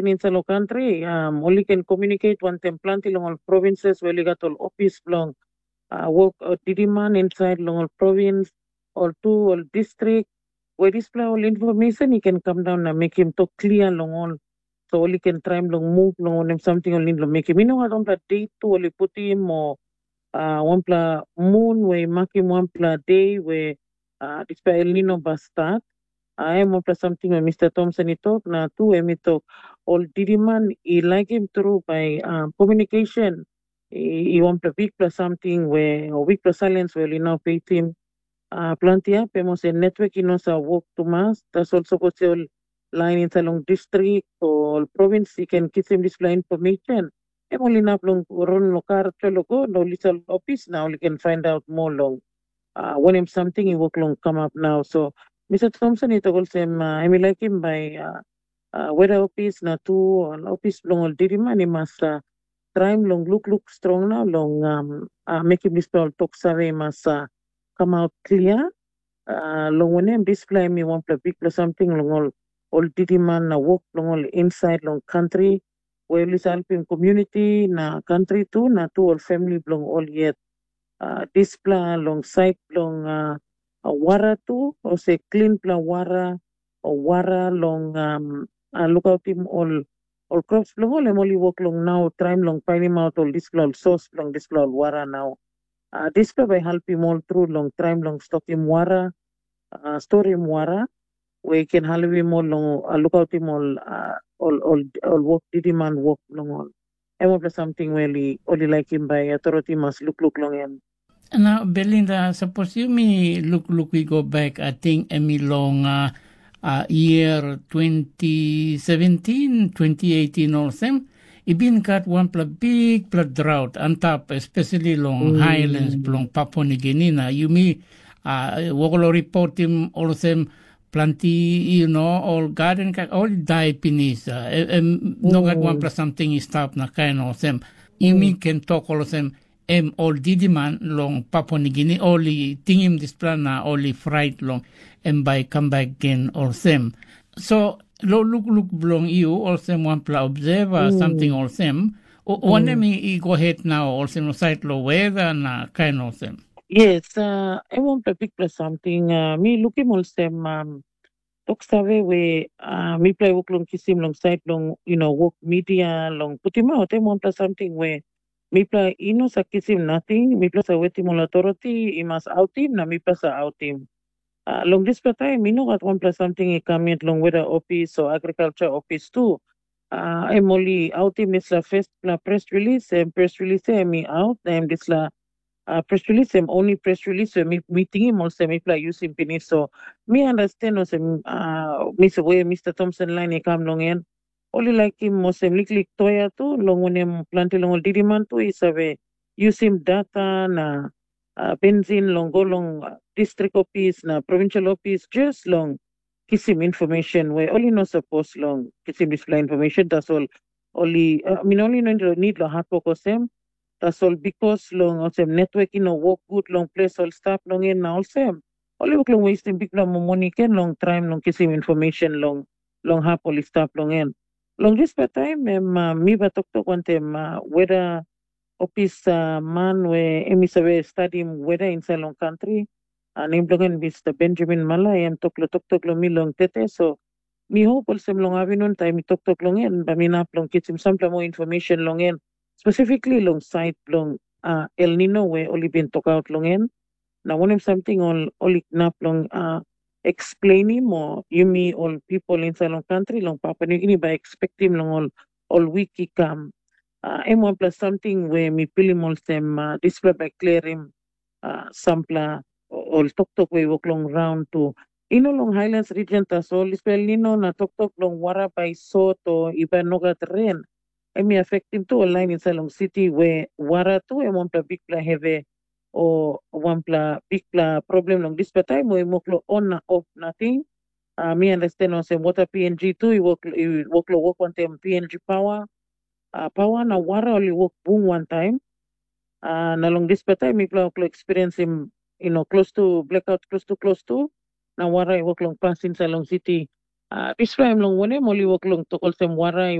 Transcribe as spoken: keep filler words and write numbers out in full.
insait long kantri, um, ol i ken komiuniket wantaim planti long ol provinses we ol i gat ol ofis bilong uh, wok uh, didiman insait long ol provins, ol tu, ol distrik, we dispela ol information i ken kam daun na mekim tok klia long ol. So ol i ken traim long move long wanem samting ol nid long mekim. I no gat wanpela date tu ol i putim o uh, wanpela mun we i makim wanpela de we uh, dispela El Nino bas start. Uh, em wanpela samting we Mr. Thompson i tok, na tu em i tok ol didiman i laikim tru bai uh, communication i, i wanpela bikpela samting we o bikpela silence we ol i no peitim. Uh, planti hap em olsem network i no sa wok tumas, tasol sapos ol lain insait long distrik o ol provins i ken kisim dispela information, em ol inap long run long kar telo go na ol i sal ofis na ol i ken find out moa long uh, wanem samting i wok long kamap nau. So Mr. Thompson i tok olsem uh, em i laikim bai uh, uh, weda ofis na tu ol ofis bilong ol diriman i mas uh, traim long lukluk strong na long um, uh, mekim dispela ol tok save i mas uh, kamaut klia. Uh, long wanem dispela em i wanpela bikpela samting long ol ol diriman na wok bilong ol insait long kantri, we ol i helpim komuniti na kantri tu na tu ol famili bilong ol yet. Uh, dispela long sait bilong uh, wara tu, ose klinpela wara o wara long um, uh, lukautim ol ol crops bilong ol, em ol i wok long nau traim long painimaut ol dispela ol sos bilong dispela ol wara nau. Uh, dispela bai helpim ol tru long traim long stokim wara, uh, storim wara, we i ken helpim ol long uh, lukautim ol, uh, ol, ol, ol wok didiman wok bilong ol. Em olpela samting we ol i laikim bai authority mas lukluk long em. Na Belinda, sapos yumi lukluk i go bek, ating em i long uh, uh, year twenty seventeen, twenty eighteen olsem, i bin gat wanpela bikpela drought antap, especially long mm. highlands bilong Papua New Guinea. Na yumi uh, wokolo reportim olsem planti, you know, ol garden ka ol dai pinis. Uh, em no gat wanpela samting i stap na kain olsem. Yumi ken tok olsem em ol didiman long Papua New Guinea ol i tingim dispela na ol i frait long em bai kam bek gen olsem. So lo lukluk bilong yu olsem wanpela observer mm. samting olsem, wanem i, i go het nau olsem sait lo weda na kain olsem? Yes, uh, em wanpela bikpela samting uh, mi lukim olsem um, tok save we uh, mipela i wok long kisim long sait long you know, wok media long putim aut em wanpela samting we mipela i no sa kisim nating, mipela sa wetim ol authority i mas autim na mipela sa autim. Uh, long dispela taim i no gat wanpela samting i kam yet long weda ofis o agriculture ofis tu. Uh, em ol i autim dispela firstpela press release, em press release em i aut na em dispela uh, press release em only press release we mi, mi tingim olsem mipela yusim pinis. So mi understand olsem uh, Mr. we Mr. Thompson line i kam long en, ol i laikim olsem liklik toya tu, long wanem planti long ol didiman tu i save yusim data na uh, benzin long go long uh, district office na provincial office just long kisim information we ol i no sapos long kisim dispela information. Tasol ol i uh, min ol i no nid long hatwok olsem. Tasol bikos long olsem network i no wok gut long ples ol stap long en na olsem, ol i wok long westim bikpela moni ken long traim long kisim information long long hap ol i stap long en. Long dispela taim em uh, mi bai toktok wantaim uh, weda ofis uh, man we em i save stadim weda insait long kantri, uh, nem bilong en Mr. Benjamin Mala, em tok long toktok long mi long tete. So mi hop olsem long avinun taim mi toktok long en, bai mi inap long kisim sampela moa information long en, specifically long sait bilong uh, El Nino we ol i bin tokaut long en. Na wanem samting ol ol i inap long uh, explainim o yumi ol people inside long country long Papua New Guinea bai expectim long ol ol wik i kam. Uh, em wanpela samting we mi pilim olsem uh, dispela bai klerim uh, sampela ol toktok we i wok long raun tu. I no long Highlands region tasol, dispela El Nino na toktok long wara bai sot o i bai nogat ren. Em i afektim tu ol lain insait long siti we wara tu em wanpela bikpela hevi o wanpela bikpela problem long dispela taim we i wok long on na of nating. Uh, mi understand olsem water P N G tu i wok i wok long wok wantaim P N G power. Uh, power na wara ol i wok bung wantaim. Uh, na long dispela taim mipela wok long experiensim you know, close to blackout close to close to na wara i wok long pas insait long siti. Uh, dispela em long wanem ol i wok long tok olsem wara i